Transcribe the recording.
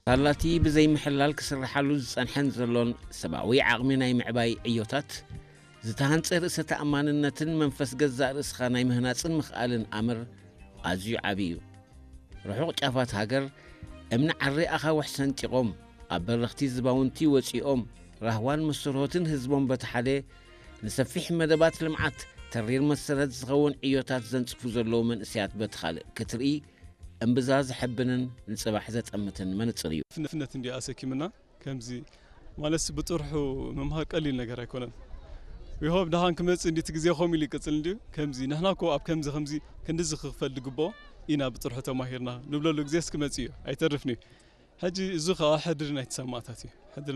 ሳላቲ ብዘይምሕላል ክስርሓሉ ዝጸንሐን ዘሎን ሰብኣዊ ዓቕሚ ናይ ምዕባይ ዕዮታት፣ ዝተሃንጸ ርእሰ ተኣማንነትን መንፈስ ገዛእ ርእስኻ ናይ ምህናጽን ምኽኣልን ኣምር ኣዝዩ ዓቢ እዩ። ርሑቕ ጫፋት ሃገር እምኒ ዓሪ ኣኻውሕ ሰንጢቖም፣ ኣብ በረኽቲ ዝባውንቲ ወጺኦም፣ ራህዋን መስርሆትን ህዝቦም በቲ ሓደ፣ ንሰፊሕ መደባት ልምዓት ተሪር መሰረት ዝኸውን ዕዮታት ዘንጽፉ ዘለዉ መንእሰያት በቲ ካልእ ክትርኢ፣ እምብዛ ዘሐብንን ንጽባሕ ዘጠምትን መነጽር እዩ። ፍነፍነት እንዲ ኣሰኪምና ከምዚ ማለት ብጥርሑ ምምሃር ቀሊል ነገር ኣይኮነን። ዊሆብ ደሃን ክመጽእ እንዲ እቲ ግዜ ከምኡ ኢሉ ይቅጽል እንዲ ከምዚ ንሕና እኮ ኣብ ከምዚ ከምዚ ክንድዚ ክኽፈል ድግብኦ ኢና ብጥርሑ ተማሂርና ንብለሉ ግዜስ ክመጽእ እዩ ኣይተርፍን እዩ። ሕጂ እዚ ከዓ ሕድሪ ናይቲ ሰማእታት እዩ። ሕድሪ